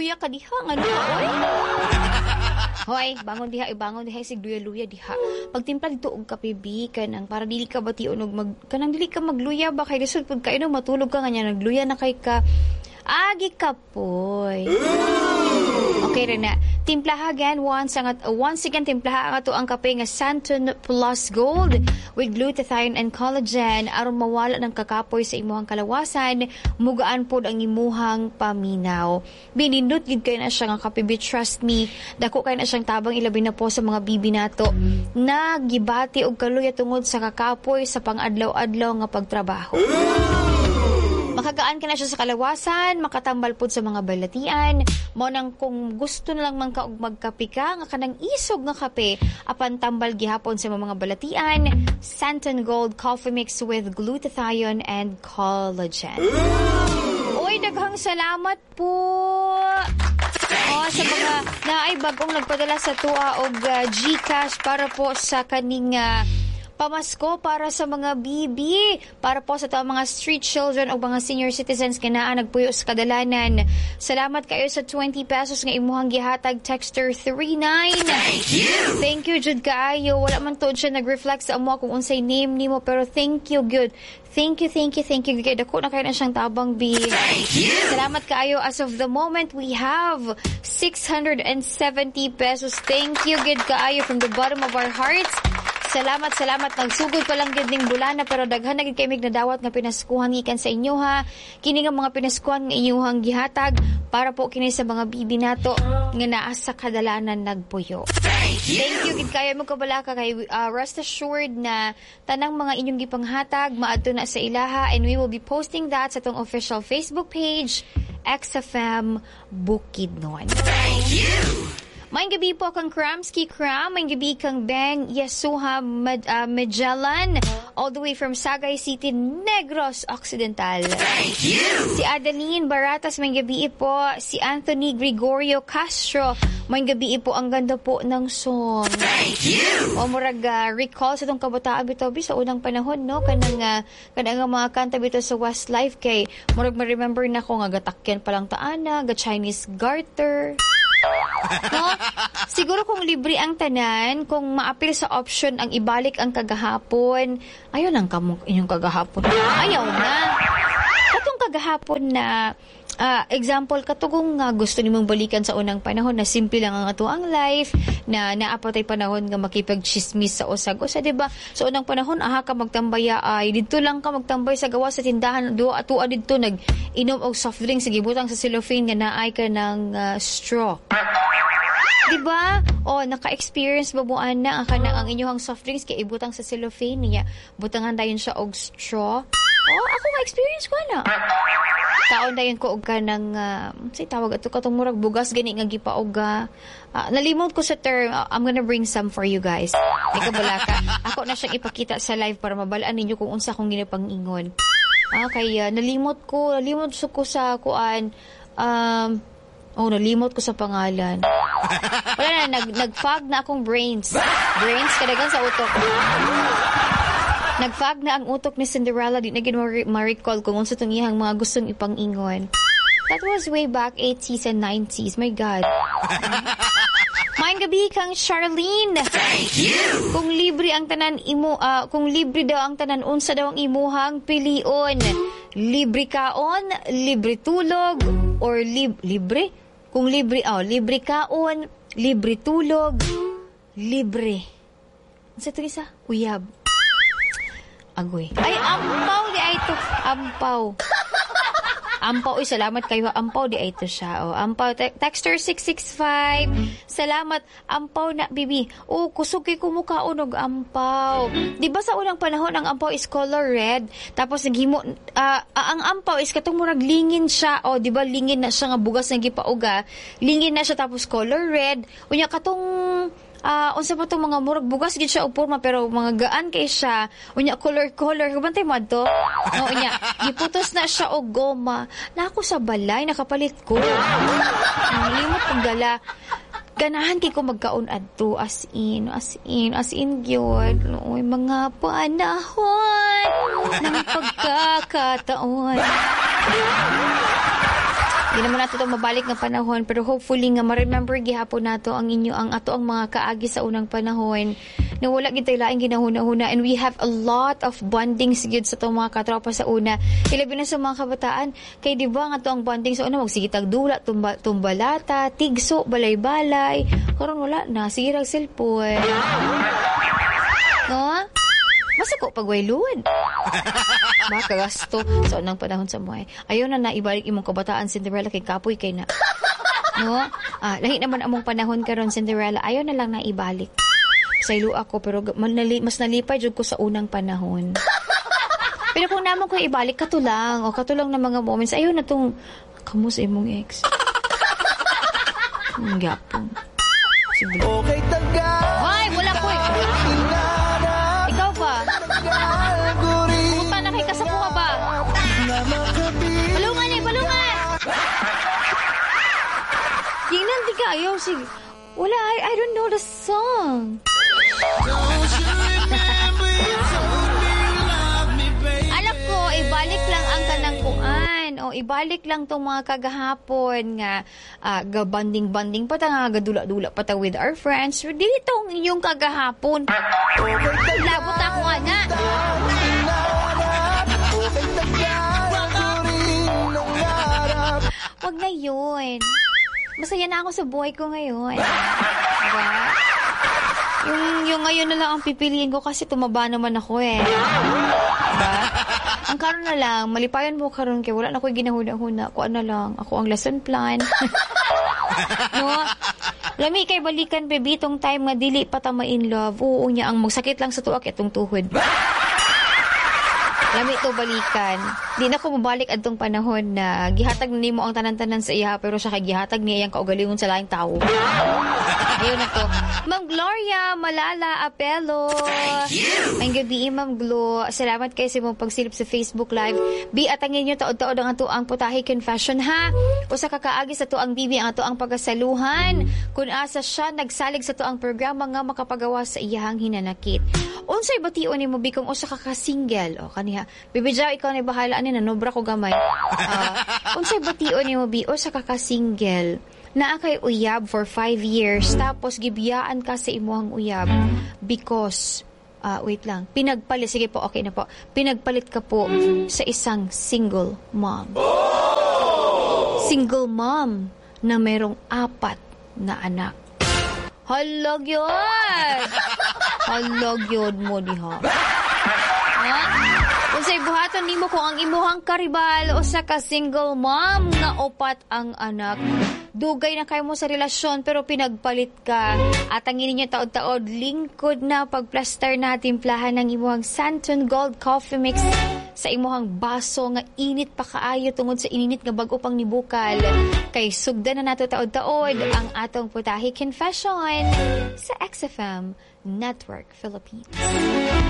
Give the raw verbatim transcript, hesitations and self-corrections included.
Nagluya-luya ka diha ngano ka oy. Hoy, bangon diha, ibangon diha sig luya-luya diha. Pagtimpla dito og kape bi kanang para dili ka bation og mag kanang dili ka magluya ba kay lisod pud kaayo matulog ka nga nagluya na kay ka. Agi ka poy. Okay rin na. Timplaha again once ang once again timplaha ang ato ang kape nga Santon Plus Gold with glutathione and collagen aron mawala ng kakapoy sa imuhang kalawasan, mugaan pod ang imuhang paminaw. Binindot gid kay na siya nga kape bi trust me. Dako kay na siyang tabang ilabi na po sa mga bibi nato na gibati og kaluya tungod sa kakapoy sa pangadlaw-adlaw nga pagtrabaho. Makagaan ka na siya sa kalawasan, makatambal pod sa mga balatian. Mo nang kung gusto na lang man ka og magkape ka, nga kanang isog nga kape, apan tambal gihapon sa mga balatian, Santon Gold Coffee Mix with glutathione and collagen. Uy, daghang salamat po. Oh, sa mga naay bagong nagpadala sa tuwa og uh, GCash para po sa kaning uh, pamasko para sa mga bibi, para po sa to mga street children o mga senior citizens nga naa nagpuyo sa kadalanan. Salamat kayo sa twenty pesos nga imuhang gihatag texter thirty-nine. Thank you. Thank you jud kaayo. Wala man tuod siya nag-reflect sa amo kung unsay name nimo pero thank you good. Thank you, thank you, thank you. Kay dako na kayo na siyang tabang bi. Thank you. Salamat kaayo. As of the moment, we have six hundred seventy pesos. Thank you gid kaayo from the bottom of our hearts. Salamat, salamat. Nagsugod pa lang gid ning bulana pero daghan na gid kay mig nadawat nga pinaskuhan gikan sa inyo ha. Kini nga mga pinaskuhan nga inyuhang gihatag para po kini sa mga bibi nato nga naa sa kadalanan nagpuyo. Thank you. Thank you gid kayo mo kabalaka kay uh, rest assured na tanang mga inyong gipanghatag maadto na sa ilaha and we will be posting that sa atong official Facebook page X F M Bukidnon. Thank you. Maayong gabi po kang Kramski Kram, maayong gabi kang Beng Yasuha Mad, uh, Magellan, all the way from Sagay City, Negros Occidental. Thank you. Si Adeline Baratas, maayong gabi po. Si Anthony Gregorio Castro, maayong gabi po. Ang ganda po ng song. Thank you. O murag uh, recall sa itong kabataan bitaw bi sa unang panahon no kanang uh, kanang nga mga kanta bitaw sa Westlife kay murag ma-remember na ko nga gatakyan pa lang taana ga Chinese garter no? Siguro kung libre ang tanan, kung maapil sa option ang ibalik ang kagahapon, ayaw lang kamo inyong kagahapon. Ayaw na. Katong kagahapon na ah, example katugong nga gusto nimong balikan sa unang panahon na simple lang ang ato ang life na naa pa tay panahon nga makipag-chismis sa usag-usa di ba sa unang panahon aha ka magtambaya ay didto lang ka magtambay sa gawas sa tindahan duwa atua didto nag inom og soft drink sige butang sa cellophane nga naay ka ng ah, straw Di ba? O, naka-experience ba mo ana ang kanang ang inyong soft drinks kay ibutang sa cellophane niya. Butangan dayon siya og straw. Oh, ako ka-experience ko ana. Kaon dayon ko og kanang uh, say tawag ato katong murag bugas gani nga gipaog uh, nalimot ko sa term. Uh, I'm gonna bring some for you guys. Ay kabala ka. Ako na siyang ipakita sa live para mabalaan ninyo kung unsa akong ginapang-ingon. Ah, kay uh, nalimot ko, nalimot ko sa kuan um Oh, nalimot ko sa pangalan. Wala na, nag, nag-fog na akong brains. Brains, kadagan sa utok. Nag-fog na ang utok ni Cinderella. Di na gid ma-recall kung unsa tong iyang mga gustong ipang-ingon. That was way back eighties and nineties. My God. Maayong gabi kang Charlene. Thank you. Kung libre ang tanan imo uh, kung libre daw ang tanan unsa daw ang imuhang pilion? Libre kaon, libre tulog or lib libre? Kung libre oh, libre kaon, libre tulog, libre. Unsa to isa? Uyab. Agoy. Ay ampaw di ay to. Ampaw. Ampaw, uy, salamat kayo. Ampaw, di ay ito siya. Oh, ampaw, Te- texter six six five. Salamat. Ampaw na, bibi. Oh, kusog kay kumukaon og ampaw. Di ba sa unang panahon, ang ampaw is color red. Tapos, naghimo, uh, ang ampaw is katong murag lingin siya. Oh, di ba lingin na siya nga bugas nga gipauga. Lingin na siya tapos color red. Unya katong ah unsa pa tong mga murag bugas gid siya og porma pero mga gaan kay siya unya color color kabantay mo adto no unya giputos na siya og goma na ako sa balay nakapalit ko limot kong dala ganahan kay ko magkaon adto as in as in as in gyud oy mga panahon ng pagkakataon. Di naman nato itong mabalik nga panahon, pero hopefully nga ma-remember gihapon nato ang inyo ang ato ang mga kaagi sa unang panahon na wala gid tay laing ginahuna-huna and we have a lot of bondings gyud sa atong mga katropa sa una, ilabi na sa mga kabataan, kay di ba nga ato ang bonding sa una, magsige tag dula, tumba, tumbalata, tigso, balay-balay. Karon wala na, sige rag cellphone, no? Masako pag way load. Baka gasto sa unang panahon sa buhay. Ayaw na naibalik imong kabataan, Cinderella, kay kapoy kay na. No? Ah, lahi naman among panahon karon, Cinderella. Ayaw na lang naibalik. Saylo ako, pero manali, mas nalipay jud ko sa unang panahon. Pero kung namo ko ibalik, kato lang o kato lang na mga moments, ayaw na tong kamo sa imong ex. Ang gyapon. Sige. Okay tagal. Hoy, wala ko eh. Hinanap. Ikaw ba? Tagal ko rin Puta na kay kasapuha ba? na makabili. Palungan eh, palungan! Tingnan di ka, ayaw, sige. Wala, I, I don't know the song. Don't you remember you told me you love me, baby? Alam ko, ibalik lang ang kanang kuan. O, ibalik lang tong mga kagahapon nga uh, gabanding-banding pa ta nga gadula-dula pa ta with our friends. So, dili tong inyong kagahapon. Labot ako nga na. Hinanap. Okay tagal ko rin nangarap. Wag na yun. Masaya na ako sa buhay ko ngayon. Diba? Yung, yung ngayon na lang ang pipiliin ko kasi tumaba naman ako eh. Diba? Ang karon na lang, malipayan mo karon kay wala na ko'y ginahuna-huna. Kuan na lang, ako ang lesson plan. No? Lami kay balikan, baby, tong time nga dili pa ta ma-in love. Oo niya, ang magsakit lang sa tuak itong tuhod. Lami to balikan. Di na ko mabalik adtong panahon na gihatag na nimo ang tanan-tanan sa iya pero siya kay gihatag niya iyang kaugalingon sa laing tawo. Ayun na to. Ma'am Gloria Malala Apelo. Thank you. Ang gabi, Ma'am Glo. Salamat kay sa imong pagsilip sa Facebook Live. Bi, atangin nyo taod-taod ang ato ang Putahe Confession, ha. Usa ka kaagi sa tuang bibi ang ato ang pagasaluhan. Kung asa siya nagsalig sa tuang programa nga makapagawa sa iyahang hinanakit. Unsay bation nimo, bi, kung usa ka ka single? O kaniha. Bibi Jaw, ikaw na bahala ani, nanobra ko gamay. Ah, unsay bation nimo, bi, usa ka ka single? Naa kay uyab for five years tapos gibiyaan ka sa imuhang uyab because, ah, wait lang, pinagpalit, sige po, okay na po, pinagpalit ka po sa isang single mom. Single mom na merong apat na anak. Halag yun! Halag yun mo diha. Ha? Unsay buhaton nimo kung ang imuhang karibal usa ka single mom nga upat ang anak? Dugay na kayo mo sa relasyon pero pinagpalit ka. At ang ninyo taod-taod, lingkod na pagplaster na timplahan ng imuhang Santon Gold Coffee Mix sa imuhang baso nga init pa kaayo tungod sa ininit nga bag-o pang nibukal. Kay sugdan na nato taod-taod ang atong Putahe Confession sa X F M Network Philippines.